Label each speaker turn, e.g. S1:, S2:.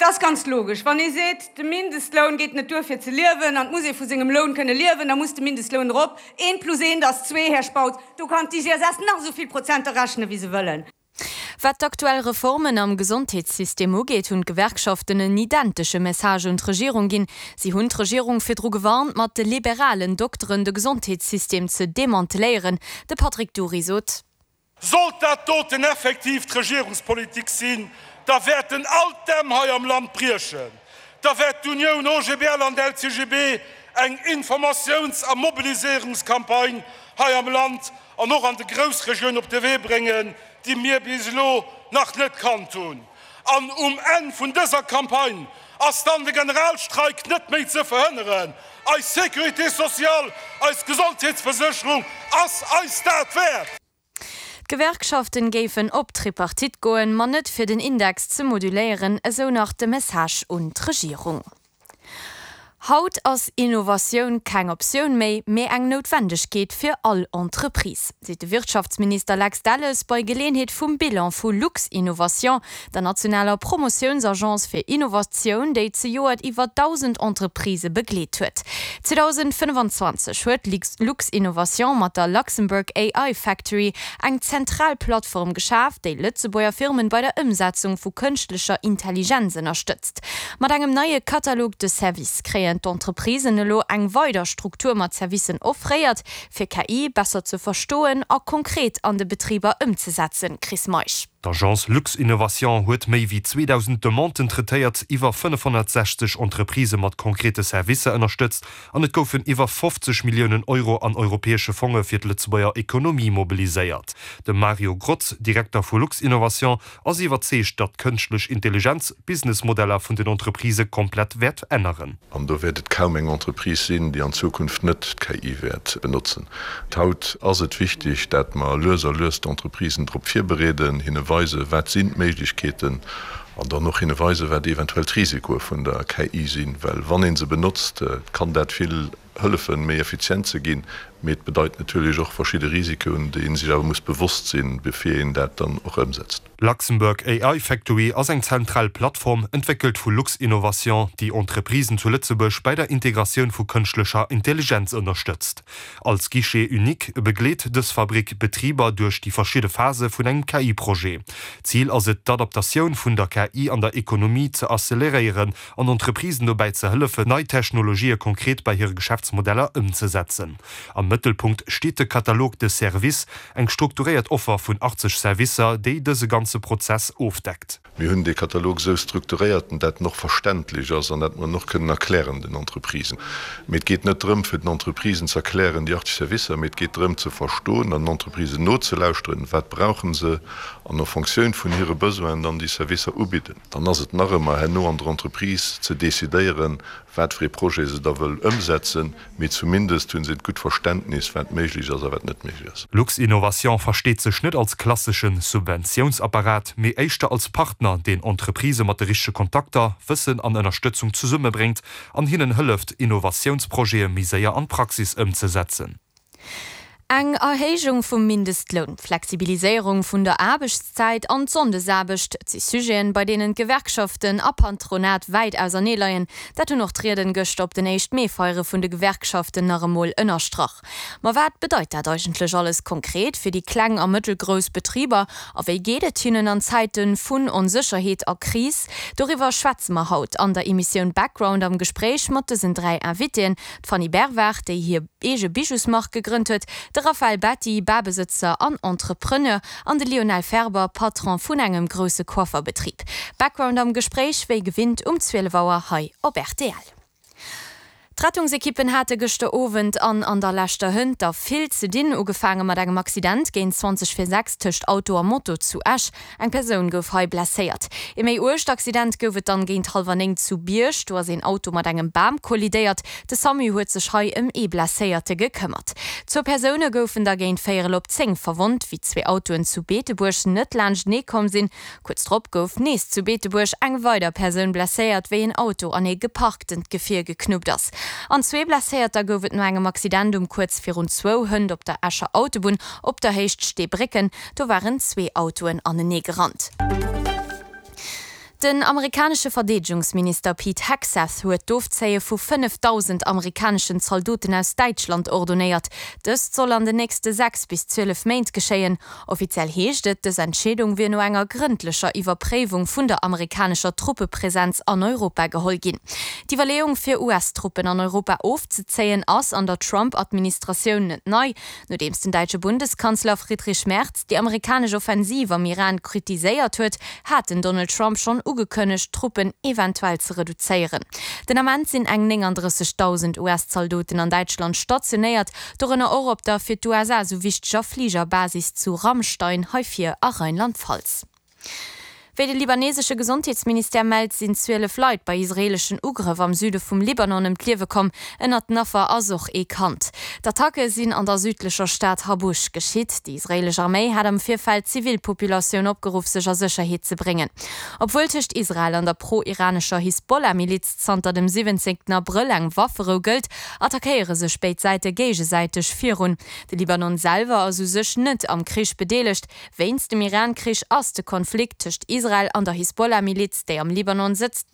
S1: Et ass ganz logesch, wann ee seet, de Mindestloun geet net duer fir ze liewen an et muss ee vu sengem Loun kënne liewen, da muss de Mindestloun erop. Eent plus eent ass zwee, Här Spautz. Do kann d'IGSS nach esou vill Prozenter rechnen, wéi se wëllen.
S2: Wat d'aktuell Reformen am Gesondheetssystem ugeet, hunn d'Gewerkschaften en identesche Message un d'Regierung ginn. Si hunn d'Regierung virdru gewarnt, mat de liberalen Dokteren de Gesondheetssystem ze demanteléieren. De Patrick Dury sot.
S3: Sollt dat doten effektiv d'Regierungspolitik sinn, da wäerten all d'Dämm hei am Land briechen. Da wäert d'Unioun OGBL an d'LCGB eng Informatiouns a Mobiliséierungscampagne hei am Land an och an de Groussregioun op de Wee bréngen, déi mir bis elo nach net kannt hunn. An um Enn vun dëser Campagne ass dann de Generalstreik net méi ze verhënneren. Eis Sécurité sociale, eis Gesondheetsversécherung ass eis dat wäert!
S2: D'Gewerkschaften géifen op d'Tripartite goen, ma net fir den Index ze moduléieren, esou nach de Message un d'Regierung. Haut ass Innovatioun keng Optioun méi, mee eng Noutwendegkeet fir all Entreprise, seet de Wirtschaftsminister Lex Delles bei Geleeënheet vum Bilan vu Luxinnovation, der nationaler Promotiounsagence fir Innovatioun, déi zejoert iwwer 1.000 Entreprisë begleet huet. 2025 huet Luxinnovation mat der Luxembourg AI Factory eng zentral Plattform geschaf, déi Lëtzebuerger Firmen bei der Ëmsetzung vu kënschtlecher Intelligenz ënnerstëtzt. Mat engem neie Catalogue de services kréien d'Entreprisen elo eng weider Struktur mat Servicen offréiert, fir KI besser ze verstoen a konkret an de Betriber ëmzesetzen. Chris Meisch.
S4: D'Agence Luxinnovation huet méi wéi 2.000 Demanden traitéiert, iwwer 560 Entreprisë mat konkrete Servicer ënnerstëtzt an et goufen iwwer 50 Milliounen Euro an europäesche Fonge fir d'Lëtzebuerger Ekonomie mobiliséiert. De Mario Grotz, Direkter vu Luxinnovation, ass iwwerzeegt, datt d'kënschtlech Intelligenz d'Businessmodeller vun den Entreprisë komplett wäert änneren.
S5: An do wäert et kaum eng Entreprise sinn, déi an Zukunft net d'KI wäert benotzen. Haut ass et wichtig, dat mer lues a lues d'Entreprisen drop virbereeden, hinne weisen, wat sinn d'Méiglechkeeten, an dann och hinne weisen, wat eventuell d'Risikoe vun der KI sinn. Well wann ee se benotzt, kann dat vill hëllefen, méi effizient ze ginn, mee et bedeit natierlech och verschidde Risikoen, déi ee sech awer muss bewosst sinn, bevir een dat dann och ëmsetzt.
S4: Luxembourg AI Factory ass eng zentral Plattform, entwéckelt vu Luxinnovation, déi Entreprisen zu Lëtzebuerg bäi der Integratioun vu kënschtlecher Intelligenz ënnerstëtzt. Als Guichet unique begleet dës Fabrick Betriber duerch déi verschidde Phase vun engem KI-Projet. Zil ass et, d'Adaptatioun vun der KI an der Ekonomie ze acceleréieren an Entreprisen dobäi ze hëllefen, nei Technologië konkret bei hire Geschäftsmodeller ëmzesetzen. Am Mëttelpunkt steet de Catalogue de services, eng strukturéiert Offer vun 80 Servicer, déi dëse ganze Prozess ofdeckt.
S5: Mir hunn dee Katalog esou strukturéiert, dat en och verständlech ass an dat mer en och kënnen erklären den Entreprisen. Mee et geet net drëm, fir den Entreprisen ze erklären déi 80 Servicer, mee et geet drëm ze verstoen an den Entreprisen nozelauschteren, wat brauche se, an en Fonctioun vun hire Besoinen dann déi Servicer ubidden. Dann ass et nach ëmmer herno an der Entreprise ze decidéieren, wat fir ee Projet se da wëll ëmsetzen, mee zumindest hu se et gutt Verständnis, wat méiglech ass a wat net méiglech ass.
S4: Luxinnovation versteet sech net als klassesche Subventiounsapparat, mee éischter als Partner, deen Entreprisë mat de richtege Kontakter, Wëssen an Ënnerstëtzung zesummebréngt an hinnen hëlleft, Innovatiounsprojete méi séier an d'Praxis ëmzesetzen.
S2: Eng Erhéijung vum Mindestloun, d'Flexibiliséierung vun der Aarbechtszäit an d'Sonndesaarbecht, et si Sujeten, bei deenen d'Gewerkschaften a Patronat wäit ausernee leien. Dat hunn och d'Rieden gëschter op den éischt Mee-Feiere vun de Gewerkschaften nach emol ënnerstrach. Ma wat bedeit dat eigentlech alles konkret fir déi kleng a mëttelgrouss Betriber a wéi geet et hinnen an Zäite vun Onsécherheet a Kris? Doriwwer schwätze mer haut an der Emissioun Background am Gespréich mat dësen 3 Invitéen, D'Fanny Bervard, déi hir eege Bijousmark gegrënnt huet, de Raphaël Betti, Barbesëtzer an Entrepreneur, an de Lionel Ferber, Patron vun engem grousse Coifferbetrib. Background am Gespréich wéi gewinnt um 12 Auer hei op rtl. D'Rettungsekippen hate gëschter Owend an an der leschter Hënt der vill ze dinn. Ugefaange mat engem Accident géint 20 vir 6 tëscht Auto a Moto zu Esch. Eng Persoun gouf hei blesséiert. Ee méi uergt Accident gouf et dann géint hallwer 9 zu Bierg. Do ass een Auto mat engem Bam kollidéiert. De Samu huet sech hei ëm ee Blesséierte gekëmmert. Zwou Persoune goufen da géint véierel op 10 verwonnt, wéi zwee Autoen zu Beetebuerg net laanschtenee komm sinn. Kuerz drop gouf nees zu Beetebuerg eng weider Persoun blesséiert, wéi een Auto an ee geparktent Gefier geknuppt ass. An zwee Blesséierter gouf et no engem Accident um kuerz virun zwou Hënt op der Escher Autobunn op der Héicht Steebrécken. Do waren zwee Autoen anenee gerannt. Den amerikanesche Verdeedegungsminister Pete Hegseth huet d'Ofzéie vu 5.000 amerikaneschen Zaldoten aus Däitschland ordonéiert. Dëst soll an den nächste 6 bis 12 Méint geschéien. Offiziell heescht et, dës Entscheedung wier no enger grëndlecher Iwwerpréiwung vun der amerikanescher Truppepresenz an Europa geholl ginn. D'Iwwerleeung fir US-Truppen an Europa ofzezéien ass an der Trump-Administratioun net nei. Nodeems den däitsche Bundeskanzler Friedrich Merz déi amerikanesch Offensiv am Iran kritiséiert huet, hat den Donald Trump schonn ugekënnegt, d'Truppen eventuell ze reduzéieren. Den Ament sinn eng 39.000 US-Zaldoten an Däitschland stationéiert, dorënner och op der fir d'USA sou wichteger Fligerbasis zu Ramstein, hei vir a Rheinland-Pfalz. Wéi de libanesesche Gesondheetsministère mellt, sinn 12 Leit bei israeeleschen Ugrëff am Süde vum Libanon ëm d'Liewe komm. Ënnert den Affer ass och ee Kand. D'Attacke sinn an der südlecher Stad Habush geschitt. Déi israeelesch Arméi hat am Virfeld d'Zivilpopulatioun opgeruff, sech a Sécherheet ze bréngen. Obwuel tëscht Israel an der pro-iranescher Hisbollah-Miliz zanter dem 17 Abrëll eng Wafferou gëllt, attackéiere sech béid Säite géigesäiteg virun. De Libanon selwer ass u sech net am Krich bedeelegt, Wéinst dem Iran-Krich ass de Konflikt tëscht Israel an der Hisbollah-Miliz, déi am Libanon sëtzt.